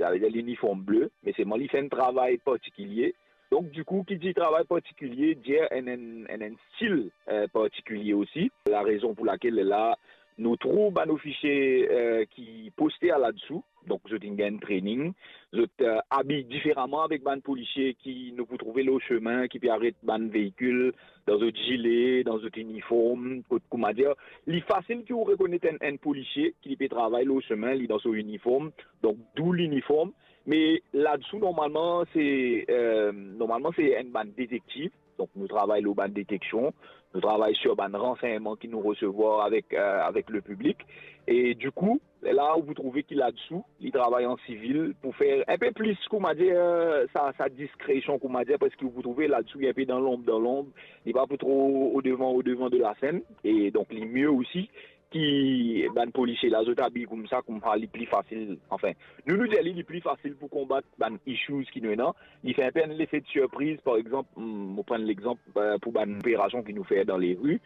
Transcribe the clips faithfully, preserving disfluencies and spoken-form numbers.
savedir liniform ble, me selman li fer enn travay partikilie. Donk, dikou, ki dir travay partikilie, dir enn, enn, enn, enn stil, eh, partikilie osi. Larezon pou lakel la, nou trouv bann ofisie, eh, ki poste ladsou, donk zot inn gagn training, zot, eh, abiy diferaman avek bann polisie ki nou pou trouve lor semin, ki pe aret bann veikil dan zot zile, dan zot iniform, kot, koumadir, li fasil ki ou rekonet enn, enn polisie ki li pe travay lor semin, li dan so iniform, donk dou liniform. Me ladsou, normalman, se, eh, normalman, se enn bann detektiv. Donk, nou travay lor bann deteksion, nou travay sir bann ransegnman ki nou resevwar avek, eh, avek lepiblik. E dikou, la, ou pou trouve ki ladsou, li travay an sivil pou fer enpe plis, koumadir, eh, sa, sa diskresion, koumadir, parski ou pou trouve ladsou, li enpe dan lonb, dan lonb, li pa pou tro odevan, odevan de lasenn. E donk, li mie osi ki bann polisie la, zot abiy koumsa, koumsa li pli fasil. Anfin, nou, nou dir li, li pli fasil pou konbat bann issues ki nou ena. Li fer enpe enn lefe de sirpriz, par exanp, mm, mo pran lexanp, eh, pou bann operasion ki nou fer dan lari.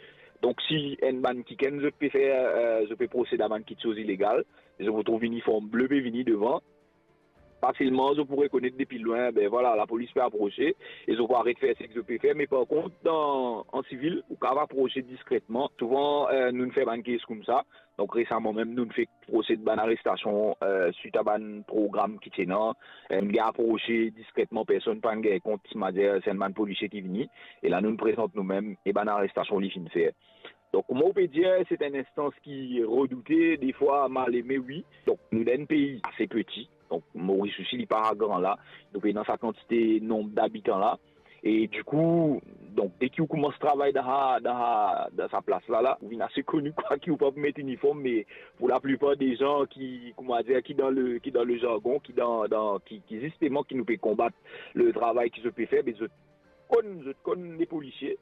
Donk, si enn bann kikenn zot pe fer, eh, zot pe prosed a bann kitsoz ilegal, zot pou trouv iniform ble pe vini devan, fasilman, zot pou rekonet depi lwin, be vwala, lapolis pe aprose, e zot pou aret fer seki zot pe fer. Me par kont, dan, an sivil, ou kav aprose diskretman. Souvan, eh, nou fer bann kes koumsa. Donk, resaman mem, nou fek prosed bann arestasion, eh, swit a bann program ki ti ena. Eh, nou gagn aprose diskretman, personn pa'nn gagn kont, savedir se enn bann polisie ki vini. E la, nou prezant noumem, e bann arestasion li finn fer. Donk, kouma ou pe dir, se enn instans ki redoute, defwa mal eme, wi. Donk, nou dan enn pei ase peti. Donk, Moris osi, li pa gran la. Nou pena sa kantite nonb dabitan la. E dikou, donk, deki ou koumans travay dan sa, dan sa, dan sa plas la, la, ou vinn ase koni, kwa, ki ou pa pou met iniform, me pou laplipar de zan ki, koumadir, ki dan le, ki dan le zargon, ki dan, dan, ki, ki zisteman ki nou pe konbat le travay ki zot pe fer, be zot konn, zot konn le polisie.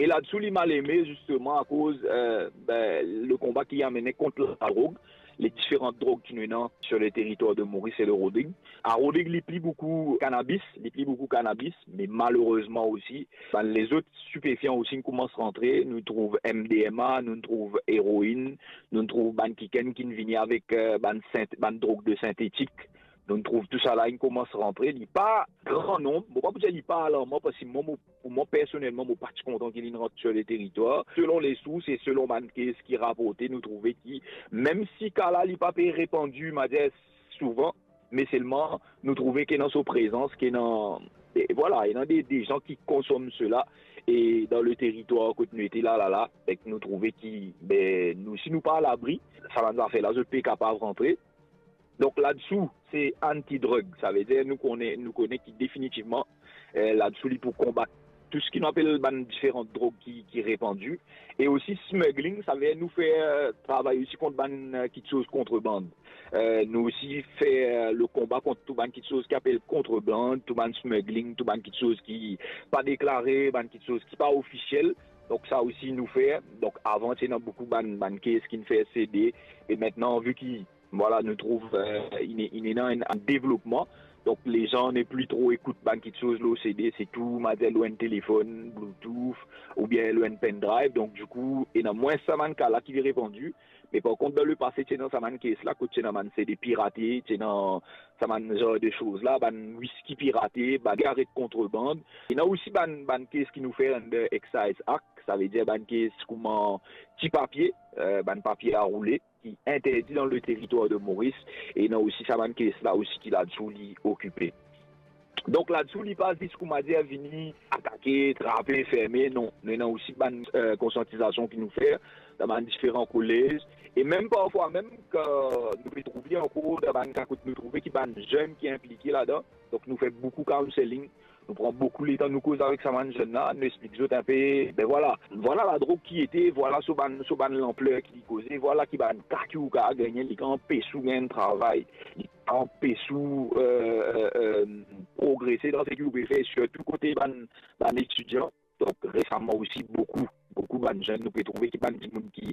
E ladsou, li mal eme, zisteman, akoz, eh, be, le konba ki amene kont ladrog, le diferan drog ki nou ena sir le teritwar de Moris e de Rodrig. A Rodrig, li pli boukou kanabis, li pli boukou kanabis, me malerezman osi, bann lezot stipefian osi inn koumans rantre. Nou trouv M D M A, nou trouv eroin, nou trouv bann kikenn ki vini avek, eh, bann sint-, bann drog de sintetik. Nou trouv tousala inn koumans rantre. Li pa gran nonb, mo pa pou dir li pa alarman, parski mwa, mo, pou mwa, personelman, mo pa ti kontan ki linn rant sir le teritwar. Selon lesours e selon bann kes ki raporte, nou trouve ki, mem si ka la, li pa pe repandi, mo dir, souvan, me selman, nou trouve ki ena so prezans, ki ena, e vwala, ena de, de zan ki konsom sela, e dan le teritwar kot nou ete la, la, la, ek nou trouve ki, be, nou, si nou pa alabri, sa bann zafer la, zot pe kapav rantre. Donk, ladsou, se anti-drug, savedir nou kone, nou kone ki definitivman, eh, ladsou, li pou konbat tou seki nou apel bann diferan drog ki, ki repandi. E osi smuggling, savedir nou fer, eh, travay osi kont bann, eh, kitsoz kontreband. Eh, nou osi fer, eh, le konba kont tou bann kitsoz ki apel kontreband, tou bann smuggling, tou bann kitsoz ki pa deklare, bann kitsoz ki pa ofisiel. Donk, sa osi nou fer. Donk, avan, ti ena boukou bann, bann kes ki finn fer sede. E aster, vi ki Vwala, nou trouv, eh, inn, inn ena enn, enn devlopman. Donk, lezan nepli tro ekout bann kitsoz lor sede, se tou, mo dir, lor enn telefonn, Bluetooth, oubien lor enn pendrive. Donk, dikou, ena mwins sa bann ka la ki repandi. Me par kont, dan lepase, ti ena sa bann kes la, kot ti ena bann sede pirate, ti ena sa bann zar de soz la, bann wiski pirate, bann sigaret kontreband. Ena osi bann, bann kes ki nou fer under Excise Act, savedir bann kes kouma ti papie, eh, bann papie a roule ki interdi dan le teritwar de Moris, e ena osi sa bann kes la osi ki ladsou li okipe. Donk, ladsou, li pa zis, kouma dir, vini atake, trape, ferme, non. Nou ena osi bann, eh, konsiantizasion ki nou fer dan bann diferan kolez, e mem parfwa mem, kan nou pe trouve ankor dan bann ka kot nou trouve ki bann zenn ki inplike ladan, donk nou fer boukou counselling, nou pran boukou letan, nou koz avek sa bann zenn la, nou explik zot inpe, be vwala, vwala ladrog ki ete, vwala so bann, so bann lanpler ki li koze, vwala ki bann ka ki ou kav gagne, li kav anpes ou gagn travay, li kav anpes ou, eh, eh, eh, progrese dan seki ou pe fer, sirtou kote bann, bann etidian. Donk, resaman osi, boukou, boukou bann zenn, nou pe trouve ki bann dimoun ki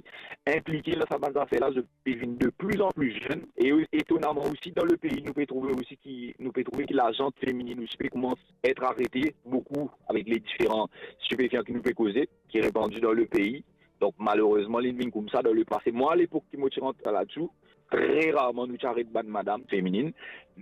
inplike dan sa bann zafer la, zot pe vinn de pli an pli zenn. E etonaman osi, dan lepei, nou pe trouve osi ki, nou pe trouve ki lazant feminin osi pe koumans et arete boukou avek le diferan stipefian ki nou pe koze, ki repandi dan lepei. Donk, malerezman, li vinn koumsa dan lepase. Mwa, alepok ki mo ti rant ladsou, tre rarman nou ti aret bann madam feminin.